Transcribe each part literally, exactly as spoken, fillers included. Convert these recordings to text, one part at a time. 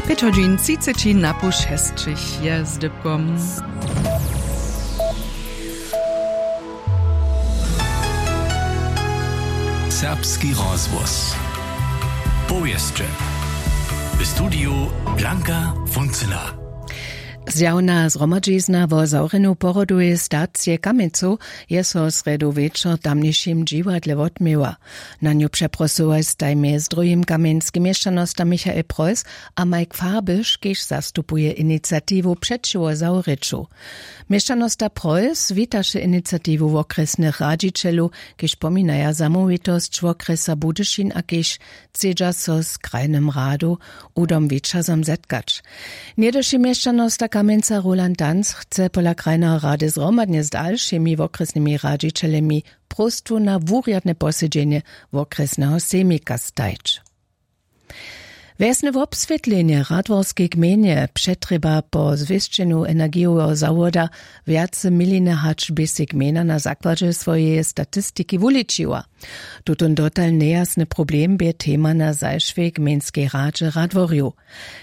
Pět hodźin třiceći na poł šesćich je z dypkom. Serbski rozhłos. Powěsće. W studiju Blanka Funzela. Zjawna zhromadźizna wo zawrjeneju porodoweje stacije Kamjencow je so w srjedu wječor w tamnišim dźiwadle wotměła. Na nju přeprosyłoj staj mjez druhim kamjenske měšćanosta Michael Preuss a Mike Farbisch, kiž zastupuje iniciatiwu přećiwo zawrěću. Měšćanosta Preuss witaše iniciatiwu wokrjesnych radźićelow, kiž pominaja zamołwitosć wokrjesa Budyšin a kiž chcedźa so z krajnym radu Udom Wićazom zetkać. Něhdyši měšćanosta Kamjenca Roland Danz chce pola krajneho rady zhromadnje z dalšimi wokrjesnymi radźićelemi próstwu na wurjadne posedźenje wokrjesneho sejmika stajć. Wjesne wobswětlenje w radworskej gmejnje přetrjeba po zwěsćenju energijoweho zawoda wjace miline, hač bě sej gmejna na zakładźe swojeje statistiki wuličiła. Tutón dotal njejasny problem bě tema na zašłej gmejnskej radźe radworjow.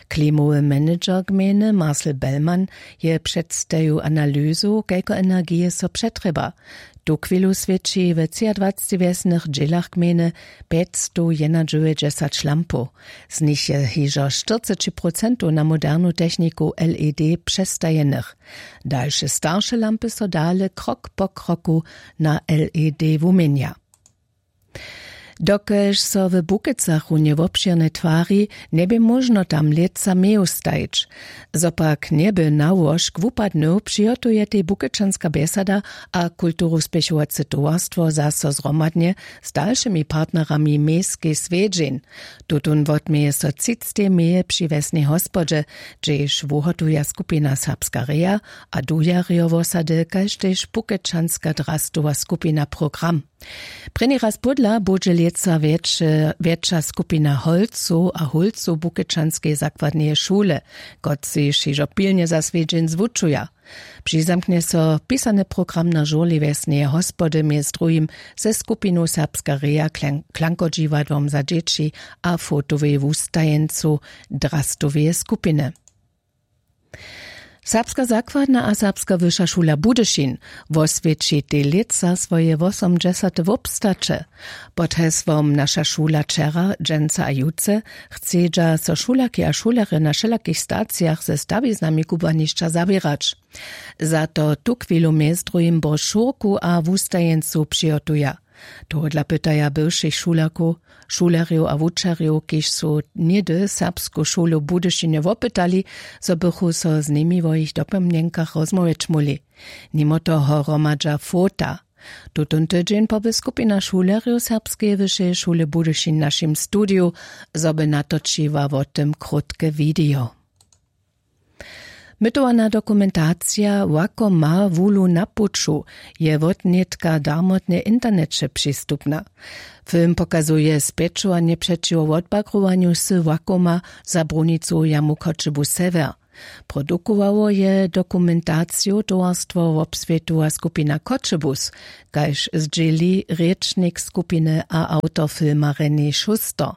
Klimowy manager gmejny Marcel Bellmann je předstajił analyzu, kelko energije so přetrjeba. Tuchwilu swěći w třiadwacci wjesnych dźělach gmejny pjećstowjednadźewjećdźesat lampow. Z nich je hižo štyrceći procentow na modernu techniku led přestajenych. Dalše starše lampy so dale krok po kroku na led wuměnja. Dokelž so w Bukecach runje wobšěrnje twari, njebě móžno tam lětsa meju stajić. Zo pak njeby nałožk wupadnył, přihotujetej Bukečanska bjesada a kulturuspěchowace towarstwo zaso zhromadnje z dalšymi partnerami mejskej swjedźeń. Tutón wotměje so třictej meje při wjesnej hospodźe, hdźež wuhotuja skupina Serbska reja a dujerjo wosady kaž tež Bukečanska drastowa skupina program. Prěni raz pódla budźe lětsa wjetše wjetša skupina holcow a hólcow bukečanskeje zakładneje šule, kotřiž hižo pilnje za swjedźeń zwučuja. Přizamknje so pisany program na žurli wjesneje hospody mjez druhim ze skupinu Serbska reja, klankodźiwadłom za dźěći a fotowej wustajeńcu drastoweje skupiny. Serbska zakładna a serbska wyša šula budyšin woswjeći tež lětsa swoje wosomdźesate wobstaće. Pod hesłom naša šula wčera, dźensa a jutře chcedźa so šulerki a šulerjo na wšelakich stacijach ze stawiznami kubłanišća zawěrać. Za to tuchwilu mjez druhim brošurku a wustajeńcu přihotuja. Tohodla pytaja bywšich šulerkow, šulerjow a wučerjow, kiž su něhdy serbsku šulu w budyšinje wopytali, zo bychu so z nimi wo jich dopomnjenkach rozmołwjeć móhli. Nimo toho hromadźa fota. Tutón tydźeń poby skupina šulerjow serbskeje wyšeje šule budyšin w našim studiju, zo by natočiła wo tym krótke widejo. Mytowana dokumentacija łakoma wulu na puću je wotnětka darmotnje w interneće přistupna. Film pokazuje spjećowanje přećiwo wotbagrowanju wsy łakoma za brunicowu jamu choćebu sewjer. Produkowało je dokumentaciju towarstwo wobswětowa skupina choćebuz, kaž zdźěli rěčnik skupiny a awtor filma René Schuster.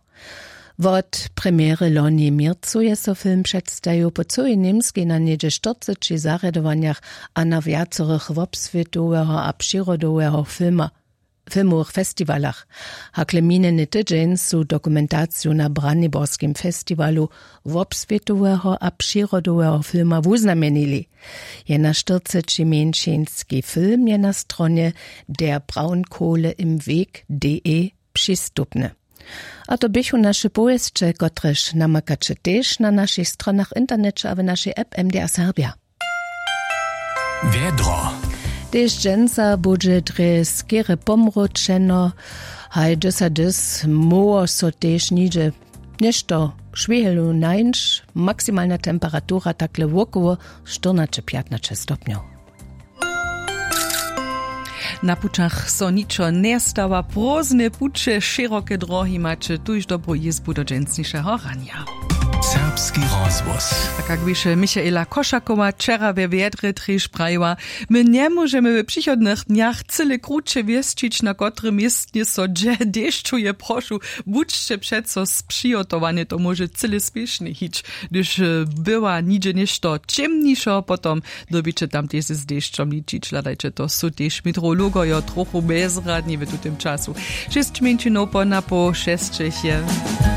Wot premjery loni w měrcu je so film předstajił po cyłej němskej na něhdźe štyrceći zarjadowanjach a na wjacorych wobswětoweho a přirodoweho filmowych festiwalach. Hakle minjeny tydźeń su dokumentaciju na braniborskim festiwalu wobswětoweho a přirodoweho filma wuznamjenili. Jenaštyrceći mjeńšinski film je na stronje der Braunkohle im Weg de přistupny. A to běchu naše powěsće, kotrež namakaće tež na našich stronach w interneće a w našej app M D R Serbja. Wjedro. Tež dźensa budźe drje skerje pomróčeno, haj dys a dys móhło so tež nihdźe něšto šwihelu nańć. Maksimalna temperatura takle wokoło štyrnaće pjatnaće stopnjow. Na pućach so ničo njestawa, prózdne puće, šěroke drohi maće tuž dobru jězbu do dźensnišeho ranja. Serbski rozhłos. A kak běše Michaela Košakowa wčera we wjedrje tež prajiła, my njemóžemy w přichodnych dnjach cyle kruće wěsćić, na kotrym městnje so dźe dešćuje. Prošu, budźće přeco spřihotowane, to móže cyle spěšnje hić. Hdyž była nihdźe něšto ćěmnišo, potom dyrbiće tam tež z dešćom ličić. Hladajće, to su tež meteorologojo trochu bezradni w tutym času. Šěsć mjeńšinow po napoł šesćich je.